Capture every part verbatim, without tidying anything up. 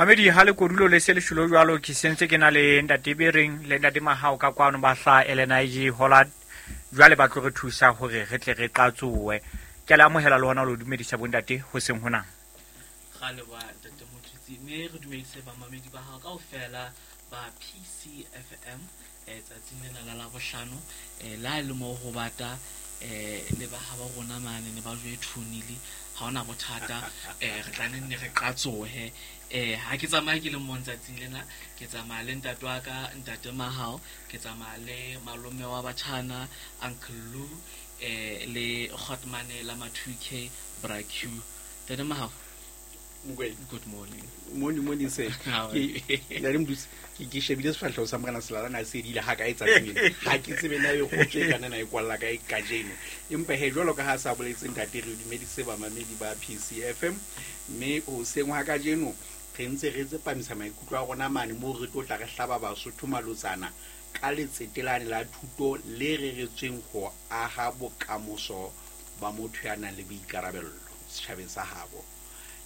Mamedi ha le kodulo le se le shulo jwalo ke sentse ke na le ntate Bereng le ntate Mahao ka kwano ba hla L N I G Hollard jwale ba tlo re thusa hore re tle re qatsoe. Ke le amohela le hona lo dumedisa bontate ho seng hona. Ra leboha ntate Motutsi, mme re dumedise bamamedi ba hao kaofela ba P C F M eh tsatsing lena la Labohlano eh la le mo ho bata eh le ba ha ba rona mane ne ba jwe thunile ha ona bothata eh re tla nne re qatsohe eh ha ke tsamaye ke le mong tsatsing lena ke tsamaya le ntate wa ka ntate Mahao ke tsamaya le malome wa batjhana Uncle Lou eh le Khotmane la ma two K Bra Q. Ntate Mahao, good morning. Morning, morning sir. How are you? Ke le mdutsi ke ke shebile sefahleho sa morena Selala na se dile ha ka etsa tseng. Ha ke tsebe na e kgotse kana na e kwalla ka e kajeno. Empa he jwalo ka ha sa boletse ntate re dumedise bamamedi ba P C F M mme o seng ha kajeno re ntse re tsepamisa maikutlo a rona mane mo re tlo tla re hlaba Basotho malotsana ka letsetelane la thuto le reretsweng ho aha bokamoso ba motho ya nang le boikarabello setjhabeng sa habo.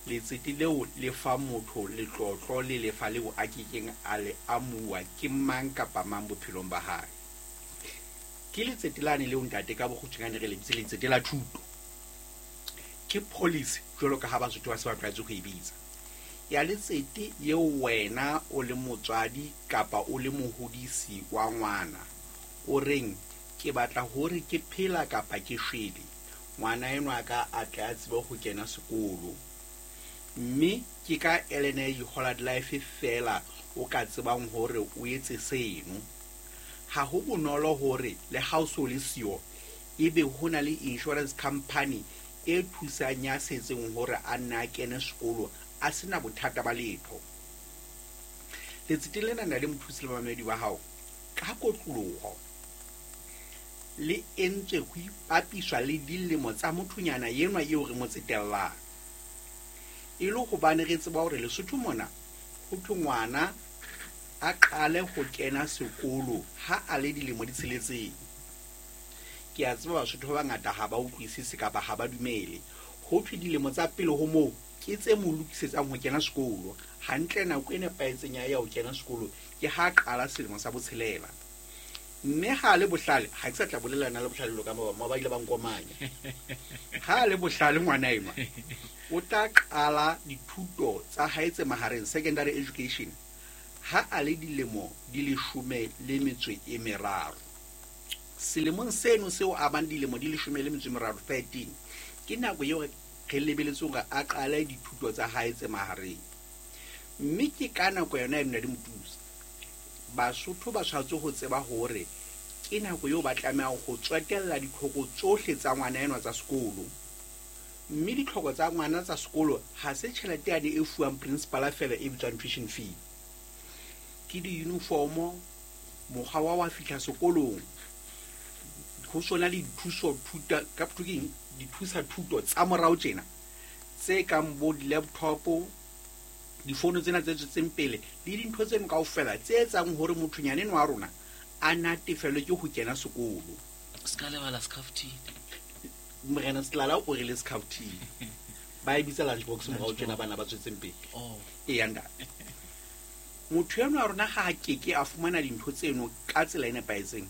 Letsete leo le fa motho letlotlo le lefa leo a kekeng a le amuwa ke mang kapa mang bophelong ba hae. Ke letsete lane leo ntate ka bokgutshwanyane re le bitse letsete la thuto. Ke policy jwalo ka ha Basotho ba se ba tlwaetse ho e bitsa. Ya letsete eo wena o le motswadi kapa o le mohodisi wa ngwana o reng ke batla hore ke phela kapa ke shwele ngwana enwa ka a tle a tsebe ho kena sekolo. Mme ke ka L N I G Hollard Life fela o ka tsebang hore o etse seno. Ha ho bonolo hore le ha o so le siyo ebe ho na le insurance company e thusang ya setseng hore a nne a kene sekolo a sena bothata ba letho. Letsete lena na le mothusi le bamamedi ba hao ka kotloloho le entswe ho ipapiswa le dilemo tsa mothonyana enwa eo re mo tsetellang. E le hobane re tseba hore Lesotho mona ho thwe ngwana a qale ho kena sekolo ha a le dilemo di tsheletseng. Ke a tseba Basotho ba bangata ha ba utlwisise kapa ha ba dumele. Ho thwe dilemo tsa pele ho moo ke tse mo lokisetsang ho kena sekolo. Hantle nako e nepahetseng ya ho kena sekolo ke ha qala selemo sa botshelela. Mme ha le bohlale, ha ke sa tla bolela na le bohlale lo ka ba ba ile ba nkomanya. Ha le bohlale ngwana enwa o tla qala dithuto tsa hae tse mahareng secondary education ha a le dilemo di leshome le metso e meraro. Selemong seno seo a bang dilemo di leshome le metso e meraro thirteen ke nako eo re lebeletse hore a qale dithuto tsa hae tse mahareng. Mme ke ka nako yona eno di motusa. Basotho ba tshwanetse ho tseba hore ke nako eo ba tlamehang ho tswetella ditlhoko tsohle tsa ngwana enwa tsa sekolo. Mme ditlhoko tsa ngwana tsa sekolo ha se tjhelete yane e fuwang principal feela e bitswang tuition fee. Ke di-uniform, mokgwa wa wa fihla sekolong, ho sona le dithuso thuta ka thukeng dithusa thuto tsa morao tjena tse kang bo di-laptop, difono tsena tse tswetseng pele le dintho tseno kaofela tse etsang hore mothonyana enwa wa rona a natefelwe ke ho kena sekolo. Se ka lebala skhafthini. Morena Selala o re le skhafthini. Ba e bitsa lunch box morao tjena bana ba tswetseng pele. Oh. Eya ntate. Motho enwa wa rona ha a keke a fumana dintho tseno ka tsela e nepahetseng,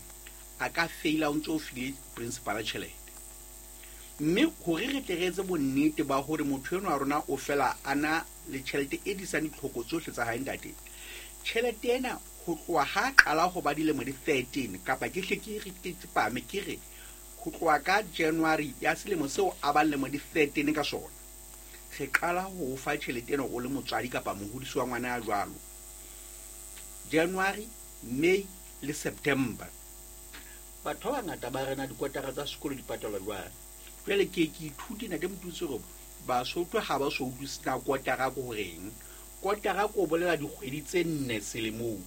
a ka feila o ntso o file principal tjhelete. Mme hore re tle re etse bonnete ba hore motho enwa wa rona o fela a na le tjhelete e disang ditlhoko tsohle tsa hae ntate. Tjhelete ena ho tloha ha qala ho ba dilemo di thirteen kapa ke hle ke re ke tsepame ke re ho tloha ka January ya selemo seo a bang lemo di thirteen ka sona. Re qala ho o fa tjhelete ena o le motswadi kapa mohodisi wa ngwana ya jwalo. January, May le September. Batho ba bangata ba rena dikotara tsa sekolo di patalwa jwang. Jwale ke ke ithute ntate Motutsi hore Basotho ha ba so utlwisisa na kotara ke horeng. Kotara ke ho bolela dikgwedi tse nne selemong.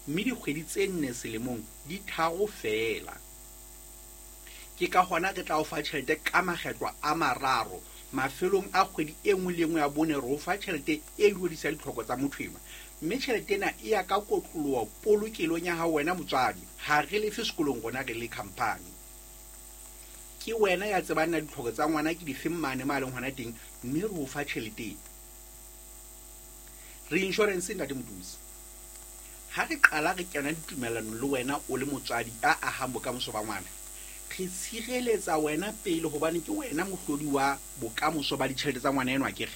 Mme dikgwedi tse nne selemong di tharo feela. Ke ka hona re tla o fa tjhelete ka makgetlo a mararo. Mafelong a kgwedi e nngwe le e nngwe ya bone re o fa tjhelete e duedisang ditlhoko tsa motho enwa. Mme tjhelete ena e ya ka kotloloho polokelong ya hao wena motswadi. Ha re lefe sekolong rona re le company. Ke wena ya tsebang na ditlhoko tsa ngwana ke difeng mane ma leng hona teng, mme re o fa tjhelete. Re insurance ntate Motutsi. Ha re qala re kena ditumellanong le wena o le motswadi a ahang bokamoso ba ngwana, re tshireletsa wena pele hobane ke wena mohlodi wa bokamoso ba ditjhelete tsa ngwana enwa akere.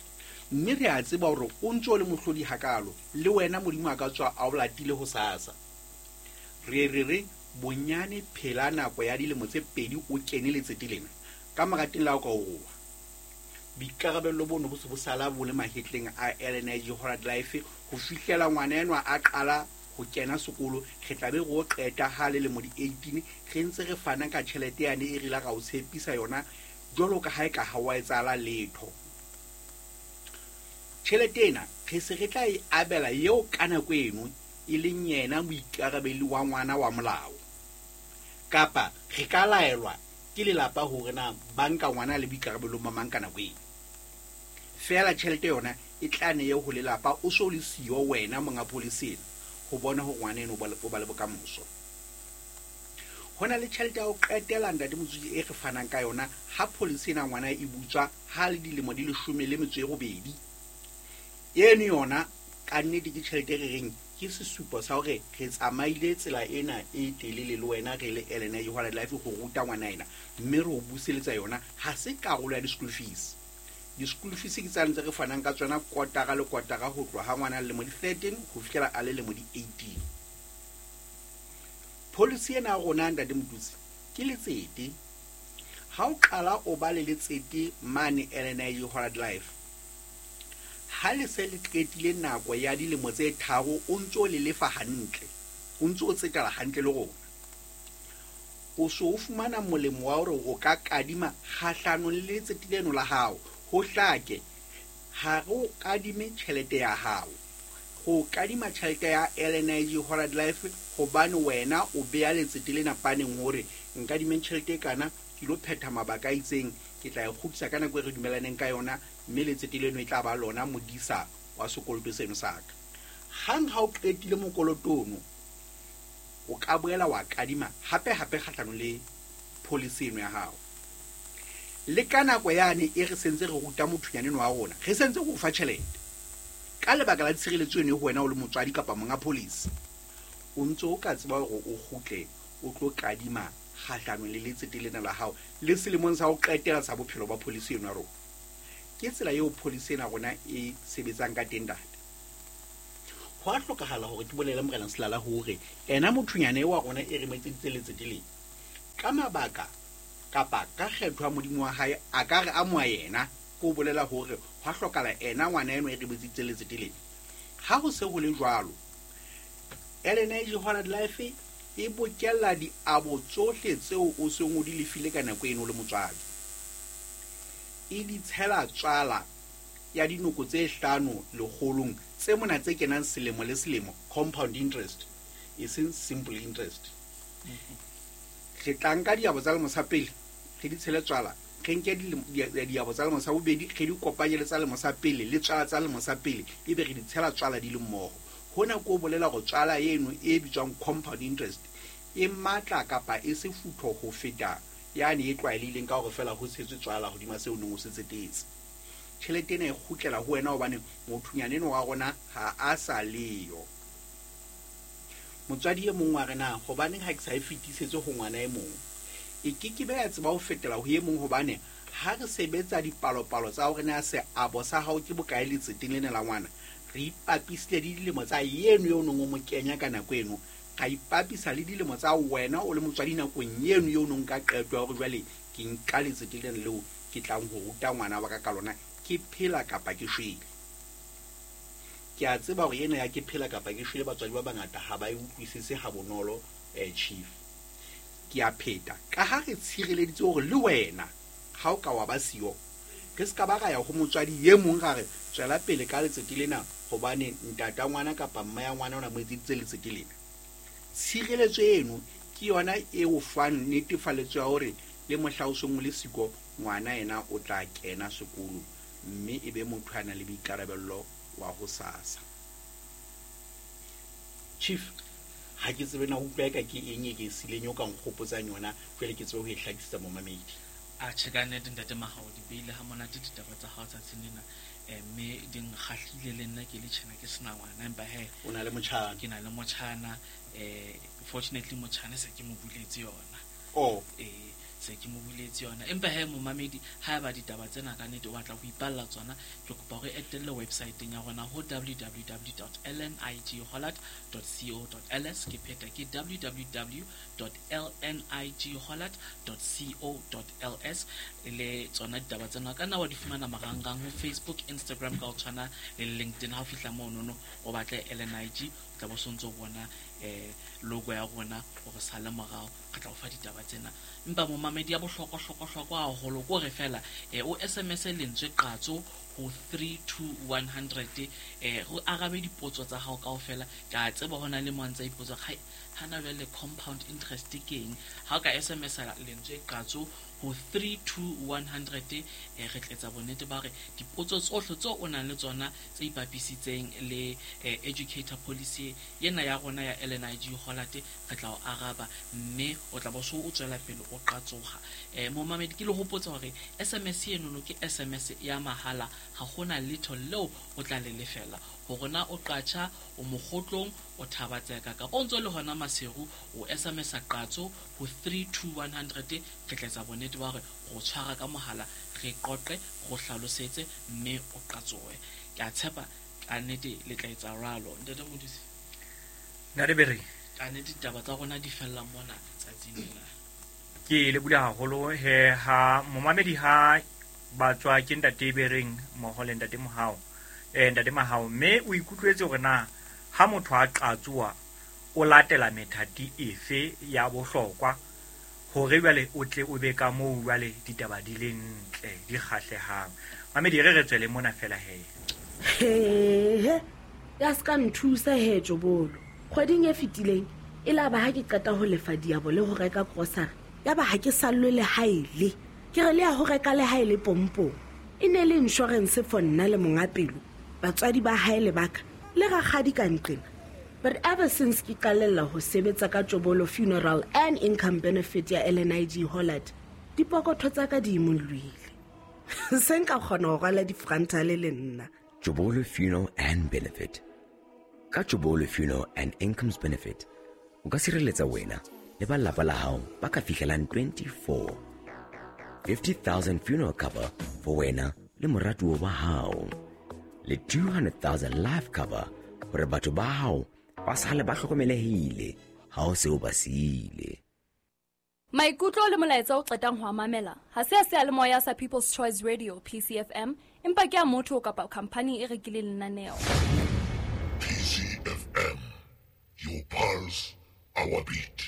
Mme re a tseba hore o ntso o le mohlodi hakalo, le wena Modimo a ka tswa a o latile ho sasa. Re re re bonyane phela nako ya dilemo tse pedi o kene letsete lena. Ka mora teng la o ka o roa. Boikarabello bono bo se bo sala bo le mahetleng a L N I G Hollard Life ho fihlela ngwana enwa a qala ho kena sekolo. Re tla be re o qeta ha le lemo di eighteen, re ntse re fana ka tjhelete yane e re ile ra o tshepisa yona jwalo ka ha e ka ha wa etsahala letho. Tjhelete ena re se re tla e abela eo ka nako eno e leng yena moikarabelli wa ngwana wa molao, kapa re ka laelwa ke lelapa hore na ba nka ngwana le boikarabelo ba mang ka nako eno. Feela tjhelete yona e tla ne ye ho lelapa, o so le siyo wena monga policy ena ho bona hore ngwana eno o ba le, o ba le bokamoso. Ho na le tjhelete ya ho qetela ntate Motswedi e re fanang ka yona ha policy ena ngwana e butswa ha le dilemo di leshome le metso e robedi. Eno yona ka nnete ke tjhelete e re reng ke sesupo sa hore re tsamaile tsela ena e telele le wena re le L N I G Hollard Life ho ruta ngwana ena, mme re o buseletsa yona. Ha se karolo ya di-school fees. Di-school fees ke tsane tse re fanang ka tsona kotara le kotara ho tloha ha ngwana a le lemo di thirteen ho fihlela a le lemo di eighteen. Policy ena ya rona ntate Motutsi ke letsete. Ha o qala o ba le letsete mane L N I G Hollard Life, ha le se le qetile nako ya dilemo tse tharo o ntso le lefa hantle, o ntso o tsetela hantle le rona, o so o fumana molemo wa hore o ka kadima kgahlanong le letsete leno la hao. Ho hlake, ha re o kadime tjhelete ya hao, ho kadima tjhelete ya L N I G Hollard Life hobane wena o beha letsete lena paneng hore nkadime tjhelete e kana ke lo phetha mabaka a itseng, ke tla e kgutlisa ka nako e re dumelaneng ka yona, mme letsete leno e tla ba lona modisa wa sekoloto seno sa ka. Hang ha o qetile mokoloto ono, o ka boela wa kadima hape hape kgahlanong le policy eno ya hao. Le ka nako yane e re sentse re ruta mothonyane eno wa rona, re sentse re o fa tjhelete ka lebaka la tshireletso eno ho wena o le motswadi kapa monga policy, o ntso o ka tseba hore o kgutle o tlo kadima kgahlanong le letsete lena la hao le selemong sa ho qetela sa bophelo ba policy eno ya rona. Ke tsela eo policy ena rona e sebetsang ka teng ntate. Ho a hlokahala hore ke bolele Morena Selala hore ena mothonyane wa rona e re mo etseditse letsete lena ka mabaka kapa ka kgetho ya Modimo wa hae, a ka re amoha yena, ke ho bolela hore ho a hlokahala ena ngwana eno e re mo etseditse letsete lena. Ha ho se ho le jwalo, L N I G Hollard Life e bokella diabo tsohle tseo o seng o di lefile ka nako eno le motswadi, e di tshela tswala ya dinoko tse hlano lekgolong tse mona tse kenang selemo le selemo, compound interest e seng simple interest. Re tla nka diabo tsa lemo sa pele re di tshele tswala, re nke diabo tsa lemo sa bobedi re di kopanye le tsa lemo sa pele le tswala tsa lemo sa pele, ebe re di tshela tswala di le mmoho. Hona ke ho bolela hore tswala eno e bitswang compound interest e matla kapa e sefutho ho feta yane e tlwaelehileng ka hore feela ho tshetswe tswala hodima seo o neng o se tsetetse. Tjhelete ena e kgutlela ho wena hobane mothonyane eno wa rona ha a sa leyo. Motswadi e mong wa re na hobaneng ha ke sa e fetisetse ho ngwana e mong, e ke ke be ya tseba ho fetela ho e mong hobane ha re sebetsa dipalopalo tsa hore na seabo sa hao ke bokae letseteng lena la ngwana, re ipapisile le dilemo tsa eno eo neng o mo kenya ka nako eno, ra ipapisa le dilemo tsa wena o le motswadi nakong eno eo neng ka qeto ya hore jwale ke nka letsete lena leo ke tlang ho ruta ngwana wa ka ka lona, ke phela kapa ke shwele. Ke a tseba hore ena ya ke phela kapa ke shwele batswadi ba bangata ha ba e utlwisise ha bonolo, eh, chief. Ke a pheta ka ha re tshireleditse hore le wena ha o ka wa ba siyo, re se ka ba ra ya ho motswadi e mong ra re tswela pele ka letsete lena hobane ntata ngwana kapa mma ya ngwana o na mo etseditse letsete lena. Tshireletso eno ke yona e o fang netefaletso ya hore le mohla o seng o le siko, ngwana ena o tla kena sekolo mme e be motho a nang le boikarabello wa ho sasa. Chief, ha ke tsebe na utlwa eka ke eng e ke sileng eo ka nkgopotsang yona, jwale ke tsebe ho e hlakisetsa momamedi. Atjhe, ka nnete ntate Mahao, di beile ha monate ditaba tsa hao tsatsing lena. Mme di nkgahlile le nna ke le tjhena ke sena ngwana, empa he o na le motjhana. Ke na le motjhana. Eh fortunately motjhana se ke mo buletse yona. Oh eh se ke mo buletse yona. Empa he momamedi, ha ba ditaba tsena ka nnete o batla ho ipalla tsona, ke kopa hore etelle website-eng ya rona ho w w w dot l n i g hollard dot co dot l s. Ke pheta ke w w w dot l n i g hollard dot co dot l s. Le tsona ditaba tsena ka nna wa di fumana marangrang ho Facebook, Instagram ka ho tshwana le LinkedIn. Ha o fihla monono o batle L N I G, o tla bo sontso bona eh logo ya rona hore sale morao, re tla o fa ditaba tsena. Empa momamedi ya bohlokwa hlokwa hlokwa haholo ko re fela eh o S M S lentswe qatso ho three two one hundred, eh re arabe dipotso tsa hao kaofela. Ke a tseba hona le mo ntsa ipotsa ha hana jwale compound interest ke eng. Ha o ka S M S lentswe qatso ho three two one hundred, eh re tletsa bonnete ba re dipotso tsohle tseo o nang le tsona tse ipapisitseng le educator policy yena ya rona ya L N I G Hollard, re tla o araba mme o tla bo so o tswela pele o qatsoha. Eh momamedi, ke le hopotsa hore S M S eno ke S M S ya mahala, ha hona letho leo o tla le lefela. Hore na o qatjha, o mokgotlong, o thabatseka kapa o ntso le hona Maseru, o S M S qatso ho three two one hundred, re tla etsa bonnete ba hore go tshwara ka mohala, re qoqe, go hlalosetse mme o qatsoe. Ke a tshepa ka nnete le tla etsa ralo. Ntate Modise, Ntate Bereng, ka nnete ditaba tsa rona di fella mona tsatsing lena. Ke le bula haholo he ha momamedi ha ba tswa ke Ntate Bereng mmoho le Ntate Mohao, eh Ntate Mahao, mme o ikutlwetse hore na ha motho a qatsoa o latela methati efe ya bohlokwa hore jwale o tle o be ka moo jwale ditaba di le ntle di kgahlehang. Mamedi, re re tswele mona fela he. He ya ska nthusa he Jobolo. Kgweding e fetileng e la ba ha ke qeta ho lefa diabo le ho reka grocery, ya ba ha ke sallwe le haele. Ke re le ya ho reka le haele pompong. E ne le insurance for nna le monga pelo, batswadi ba hae le baka le rakgadi ka nqena. But ever since ke qalella ho sebetsa ka Jobolo Funeral and Income Benefit ya L N I G Hollard, dipokotho tsa ka di imollohile. Se nka kgona ho rwala difrantale le nna. Jobolo Funeral and Benefit. Ka Jobolo Funeral and Incomes Benefit, o ka sireletsa wena le ba lapa la hao ba ka fihlelang twenty-four. fifty thousand funeral cover for wena le moratuwa wa hao. Le two hundred thousand life cover hore batho ba hao ba sale ba hlokomelehile ha o se o ba siile. Maikutlo le molaetsa o qetang ho mamela ha se a seyalemoya sa People's Choice Radio P C F M, empa ke a motho kapa company e rekileng lenaneo. P C F M, your pulse, our beat.